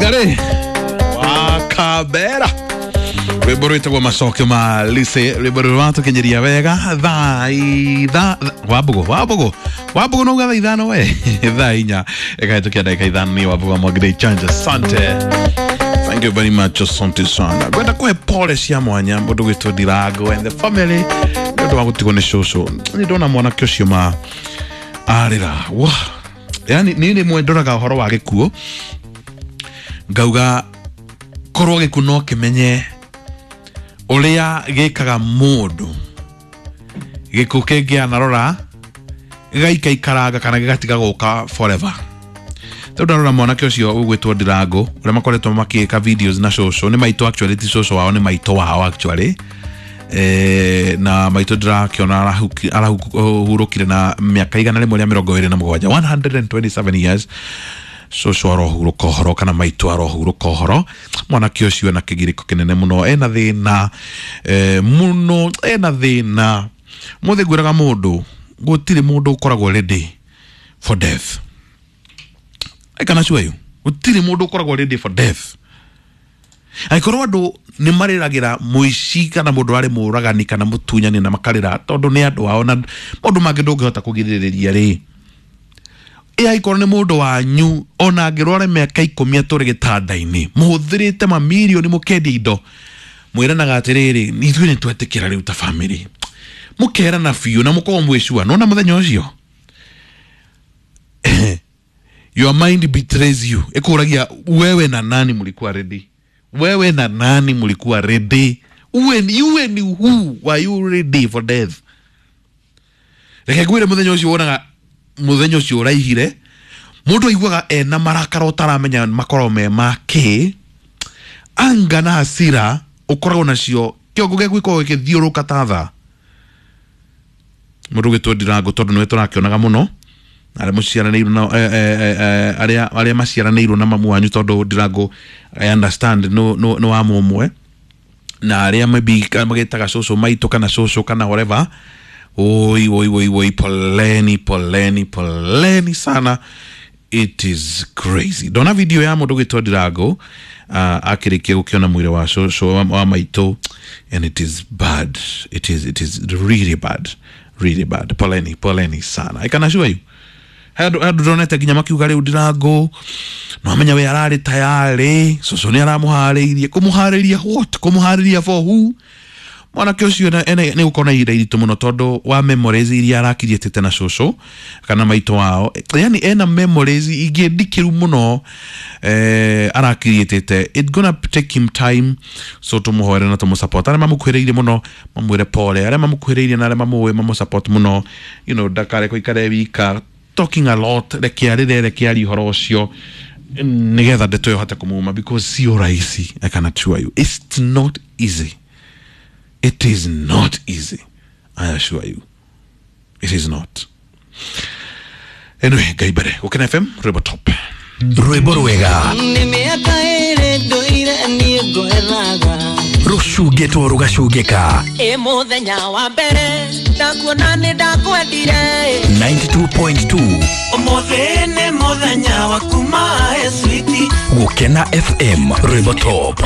Wangari wa Kabera, rwimbo rwitagwo Macokio ma Lise, rwimbo rwatukinyiria wega thaa itha Wambugu Wambugu Wambugu nauga thaa 5 we thaa 4 ĩkahĩtũkia ndagĩka 5. Nĩ Wambugu wa Mwangire Chanja, asante, thank you very much, asante sana. Ngwenda kũhe pole cia mwanya mũndũ gwĩtwo Ndirango and the family nĩ ũndũ wa gũtigwo nĩ cũcũ. Nĩ ndona mwanake ũcio ma arĩra wa yani niĩ rĩmwe ndoraga ũhoro wa gĩkuũ ngauga korwo gĩkuũ no kĩmenye ũrĩa gĩkaga mũndũ, gĩkuũ kĩngĩanarora gĩgaikaikaranga kana gĩgatiga gũka forever. Rĩu ndarora mwanake ũcio ũgwĩtwo Ndirango ũrĩa makoretwo makĩka videos na cũcũ, nĩ maitũ actually, ti cũcũ wao, nĩ maitũ wao actually. Na maitũ ndĩrakĩona arahurũkire na mĩaka 127, 127 years. Cũcũ arohurũka ũhoro kana maitũ arohurũka ũhoro. Mwanake ũcio ena kĩgirĩko kĩnene mũno, ena thĩna mũno, ena thĩna mũthĩ. Ngwĩraga mũndũ gũtirĩ mũndũ ũkoragwo ready for death. I can assure you gũtirĩ mũndũ ũkoragwo ready for death. Angĩkorwo andũ nĩ marĩragĩra mũici kana mũndũ arĩ mũragani kana mũtunyani na makarĩra tondũ nĩ andũ ao na maũndũ mangĩ ndũngĩhota kũgirĩrĩria rĩ, ĩ angĩkorwo nĩ mũndũ wanyu ona angĩrwara mĩaka 10 atũre gĩtanda-inĩ mũhũthĩrĩte mamirioni mũkendia indo mwĩranaga atĩrĩrĩ, ithuĩ nĩ twetĩkĩra rĩu ta family, mũkerana biũ na mũkorwo mwĩcua nona mũthenya ũcio your mind betrays you, ĩkũragia wewe na nani mlikuwa ready, wewe na nani mlikuwa ready, you and who were you ready for death? Reke ngwĩre mũthenya ũcio wonaga mũthenya ũcio ũraihire mũndũ aiguaga ena marakara ũtaramenya makoragwo me ma kĩ, anga na hasira ũkoragwo nacio kĩongo gĩaku gĩkoragwo gĩkĩthiũrũka ta thaa. Mũndũ ũgĩtwo Ndirango tondũ nĩwe tũrakĩonaga mũno arĩa mũciaranĩirwo na arĩa maciaranĩirwo na mamu wanyu, tondũ Ndirango I understand no wa mũmwe na arĩa maybe magĩtaga cũcũ maitũ kana cũcũ kana whatever. Oi oi oi oi, poleni poleni poleni sana, it is crazy. Ndona video ya mũndũ ũgĩtwo Ndirango akĩrĩkia gũkĩona mwĩrĩ wa cũcũ wa maitũ and it is bad, it is really bad, really bad. Poleni poleni sana. I can assure you handũ ndonete nginya makiuga rĩu Ndirango no amenya we ararĩ tayarĩ, cũcũ nĩ aramũharĩirie. Kũmũharĩria what? Kũmũharĩria for who? Mwanake ũcio nĩ gũkorwo na ihinda iritũ mũno tondũ wa memories iria arakiriĩtĩte na cũcũ kana maitũ wao, yani ena memories ingĩ ndikĩru mũno arakiriĩtĩte. It gonna take him time, so tũmũhoere na tũmũsupport. Arĩa mamũkuhĩrĩirie mũno mamwĩre pole, arĩa mamũkuhĩrĩirie na arĩa mamũĩ mamũsupport mũno, ndakare ikare wika talking a lot, reke arĩre, reke arie ũhoro ũcio nĩgetha ndeto ĩyo hote kũmuma because sio rahisi. I can assure you it's not easy, it is not easy, I assure you it is not. Anyway, Ngai mbere. Gũkena FM, rwĩmbo top. Rwĩmbo rwega. Nĩ mĩaka 2 ndũire niĩ ngwethaga. Rũcungĩtwo rũgacungĩka. Ĩ mũthenya wa mbere ndakuona nĩ ndakwendire. 92.2. Ũmũthĩ nĩ mũthenya wa kuma switi. Gũkena FM, rwĩmbo top.